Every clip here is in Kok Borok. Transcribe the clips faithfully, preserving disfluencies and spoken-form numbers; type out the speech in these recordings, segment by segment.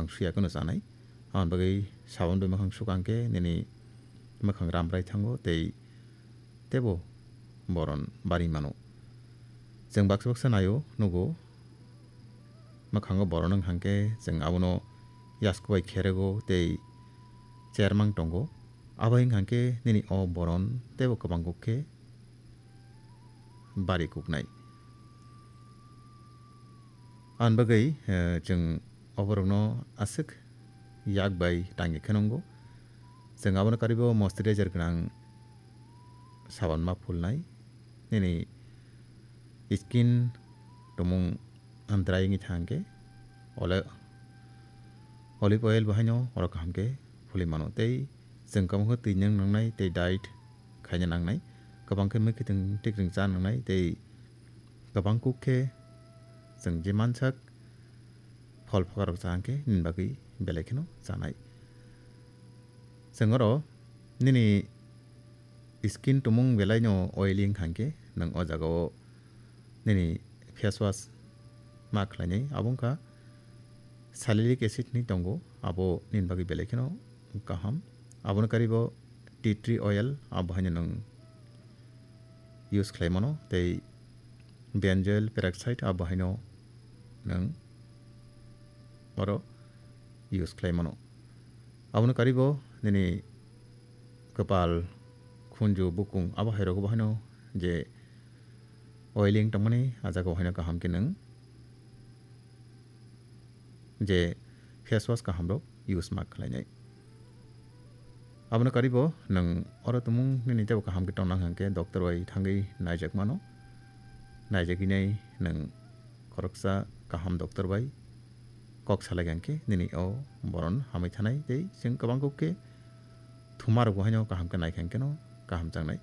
suya kheno chanai. Aboni bagwi sabon bai mwkhang sukha hwnkhe nini mwkhang ramrai thango tei teibo boron bari mano. Chwng baksa baksa naio, nugo, mwkhango boron wng hwnkhe chwng abono yasku bai kherego tei chermang tongo. Abo wng hwnkhe nini o boron teibo kwbang kuk khe bari kuknai. Aboni bagwi, eh, chwng o borokno aswk yak bai tangwi khe nwngo. Chwng abono karwibo moisturizer gwnang sabon ma phulnai. Nini skin tumung dry wngwi thang khe ole-, olive oil bo haino oro kaham khe phulwi mano. Tei chwng kwbangkhe twi nang nangnai tei diet khaina nangnai. Kwbang khe mwkhwtwng tikrwng cha nangnai tei kwbang kuk khe chwng je mansak phol phakarok cha hwnkhe nini bagwi belai kheno chanai. Chwng oro nini skin tumung belai no oily wng kha hwnkhe nwng o jaga o nini face wash ma khlainai. Abo wngkha salicylic acid hinwi tongo, abo nini bagwi belai kheno kaham. Abono karwibo tea tree oil, abo haino nwng use khlai mano, tei benzoyl peroxide, abo haino nwng oro use khlai mano. Abono karwibo nini kwpal, khunju, bukung, abo hai rogo bo haino je oiling tongmani, a jaga o haino kaham khe nwng je face wash kaham rok use ma khlainai. Abono karwibo nwng oro tumung nini teibo kaham khe tongna hwnkhe doctor bai thangwi naijak mano. Naijagwi nai nwng khoroksa kaham doctor bai kok salai hwnkhe nini o boron hamwi thanai tei chwng kwbang kuk khe thuma rok bo haino kaham khe nai kha hwnkhe no kaham changnai.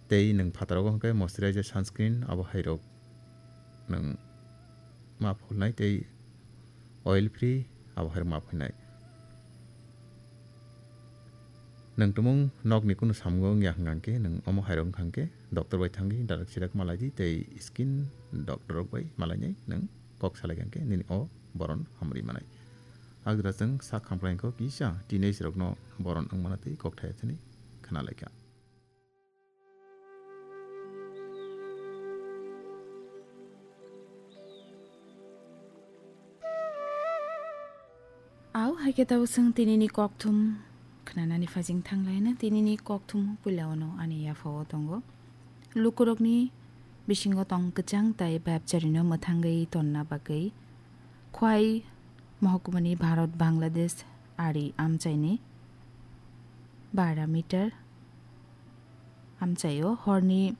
Tei nwng phataro hwnkhe moisturizer, sunscreen abo hai rok nwng ma phulnai tei oil free abo hai rok ma phulnai. Nwng tumung nokni kunu samungo wngya hwnkha hwnkhe nwng omo hai rok wngkha hwnkhe doctor bai thangwi direct sirak malai di tei skin doctor rok bai malainai nwng kok salai hwnkhe nini o boron hamri manai. Agdra chwng sak khamkrai kok kisa teenage rokno boron wngmano tei kok thaya thani khna laikha. Au, hai khe tabuk chwng tinini kokthum khnanani phajing thanglaina. Tinini kokthum puila ono ani yaphao tongo. Lukurokni bisingo tong kwchang tai bebjarino mwthangwi tonna bagwi Khwai mohkumani Bharat Bangladesh ari amchaini bara meter amchaio horni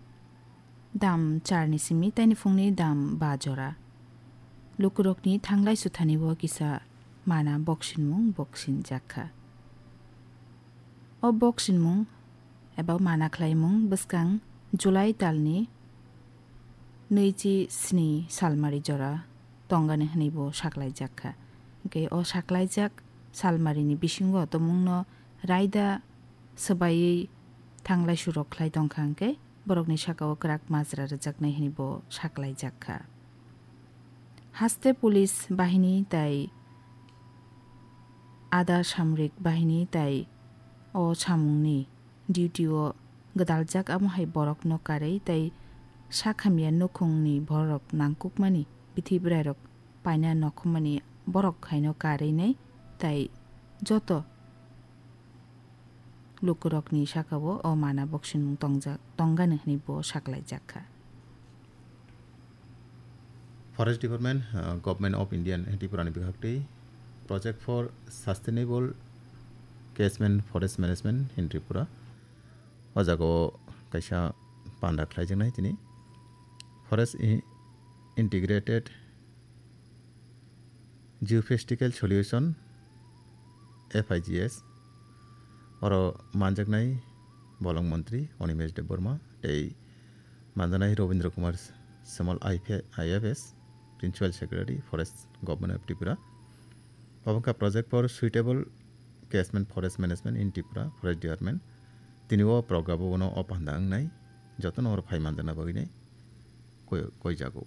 dam charni simi taini phungni dam ba jora. Lukurokni thanglai suthanibo kisa mana boksinmung boksinjakha. O boksinmung eba mana khlaimung bwskang July talni nwichi sni salmari jora tongani hwnwibo saklaijakha. Hwnkhe o saklaijak salmarini bisingo tumungno raida swbaiwi thanglai surok khlai tongkha hwnkhe borokni sakao kwrak majra rwjaknai hwnwi bo saklaijak kha. Haste police bahini tai ada samrik bahini tai o samungni duty o gwdaljak, amo hai borokno karwi tai sak hamya nukhungni borok nangkukmani bithi bwrairok paina nokhumani borok haino karwi nai tai joto lukurokni sakao o mana boksinmung tongjak, tongani hwnwi bo saklaijak kha. Forest Department, uh, Government of India and Tripura ni bwkhaktwi Project for Sustainable Catchment Forest Management in Tripura. O jagao kaisa panda khlaijaknai tini Forest I-, Integrated Geophysical Solution, F I G S, oro manjaknai bolong montri Animesh Debbarma tei manjaknai Robindra Kumar Samal I P, I F S, Principal Secretary, Forest, Government of Tripura. Obo wngkha Project for Suitable Catchment Forest Management in Tripura, Forest Department. Tini o program o bono o panda wngnai, jotono oro phai manjakna bagwi nai koi-, koijago.